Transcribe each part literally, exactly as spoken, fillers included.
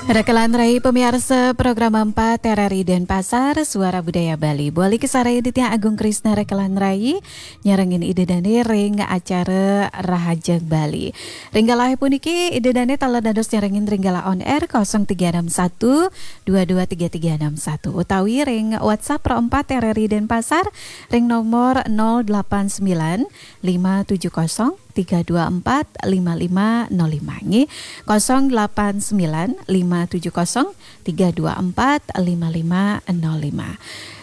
Rekelan rai pamiarsa program empat R R I Denpasar, Suara Budaya Bali. Balik sareng Ditya Agung Krisna rekelan rai, nyarengin Ida Dane ring acara Rahajeng Bali. Ring galah puniki Ida Dane taler dados nyarengin ring galah on air kosong tiga enam satu dua dua tiga tiga enam satu utawi ring WhatsApp Pro empat R R I Denpasar ring nomor nol delapan sembilan lima tujuh kosong tiga dua empat lima lima nol lima nggih. Kosong delapan sembilan lima tujuh kosong tiga dua empat lima lima nol lima.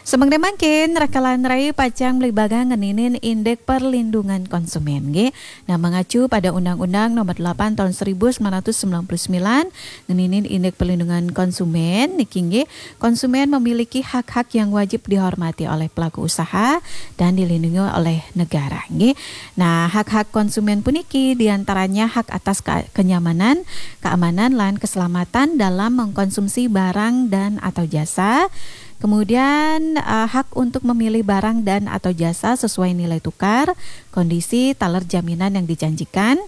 Semeng mangkin rekelan rai pacang beli bagang ngeninin indeks perlindungan konsumen nggih. Nah, mengacu pada Undang-Undang Nomor delapan Tahun seribu sembilan ratus sembilan puluh sembilan ngeninin indeks perlindungan konsumen niki nggih, konsumen memiliki hak-hak yang wajib dihormati oleh pelaku usaha dan dilindungi oleh negara nggih. Nah, hak-hak konsumen puniki diantaranya hak atas ke- kenyamanan, keamanan, lan keselamatan dalam mengkonsumsi barang dan atau jasa. Kemudian uh, hak untuk memilih barang dan atau jasa sesuai nilai tukar, kondisi, taler jaminan yang dijanjikan.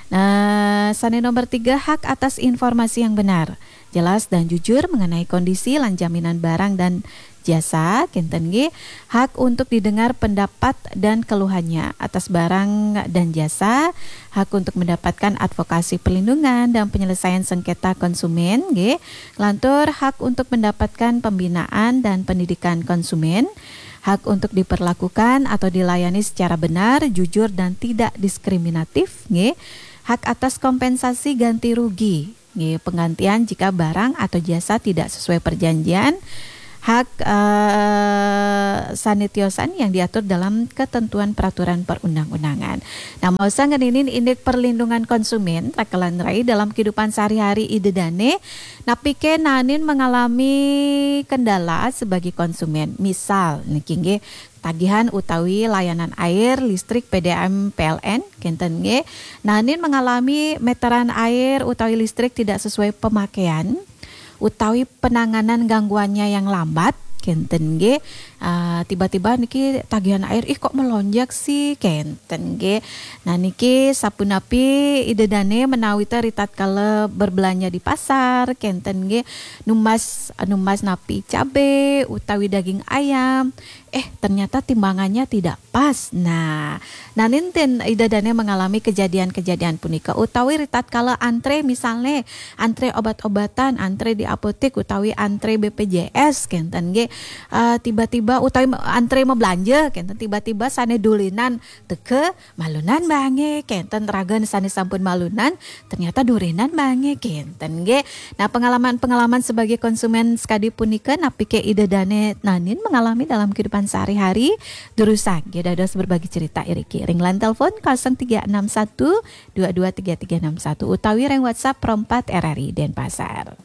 Nah, sane nomor tiga, hak atas informasi yang benar, jelas dan jujur mengenai kondisi lan jaminan barang dan jasa, kenten nggih, hak untuk didengar pendapat dan keluhannya atas barang dan jasa, hak untuk mendapatkan advokasi perlindungan dan penyelesaian sengketa konsumen nggih, lantur hak untuk mendapatkan pembinaan dan pendidikan konsumen, hak untuk diperlakukan atau dilayani secara benar, jujur dan tidak diskriminatif nggih, hak atas kompensasi ganti rugi nggih, penggantian jika barang atau jasa tidak sesuai perjanjian, hak eh, sane tiosan yang diatur dalam ketentuan peraturan perundang-undangan. Nah, maosang ngeninin indeks perlindungan konsumen rekelan rai dalam kehidupan sehari-hari Ida Dane, napike naenin mengalami kendala sebagai konsumen. Misal niki nggih, tagihan utawi layanan air, listrik, P D A M, P L N, kenten nggih. Naenin mengalami meteran air utawi listrik tidak sesuai pemakaian utawi penanganan gangguannya yang lambat, kenten nggih. Ah, tiba-tiba niki tagihan air, "Ih, kok melonjak sih?" kenten nggih. Nah, niki sapunapi Ida Dane menawi ta ritatkala berbelanja di pasar, kenten nggih, numbas numbas napi cabe utawi daging ayam, eh, ternyata timbangannya tidak pas. Nah, naenin ten Ida Dane mengalami kejadian-kejadian punika utawi ritatkala antre, misalnya antre obat-obatan, antre di apotek utawi antre B P J S kenten nggih. Eh, tiba-tiba utawi me- antre mabelanja kenten, tiba-tiba sane dulinan teka malunan bange kenten, ragan sane sampun malunan ternyata durenan bange kenten nggih. Nah, pengalaman-pengalaman sebagai konsumen sekadi punika napike Ida Dane naenin mengalami dalam kehidupan sehari-hari? Durusang nggih dados berbagi cerita iriki ring line telepon kosong tiga enam satu dua dua tiga tiga enam satu utawi ring WhatsApp Pro empat R R I Denpasar.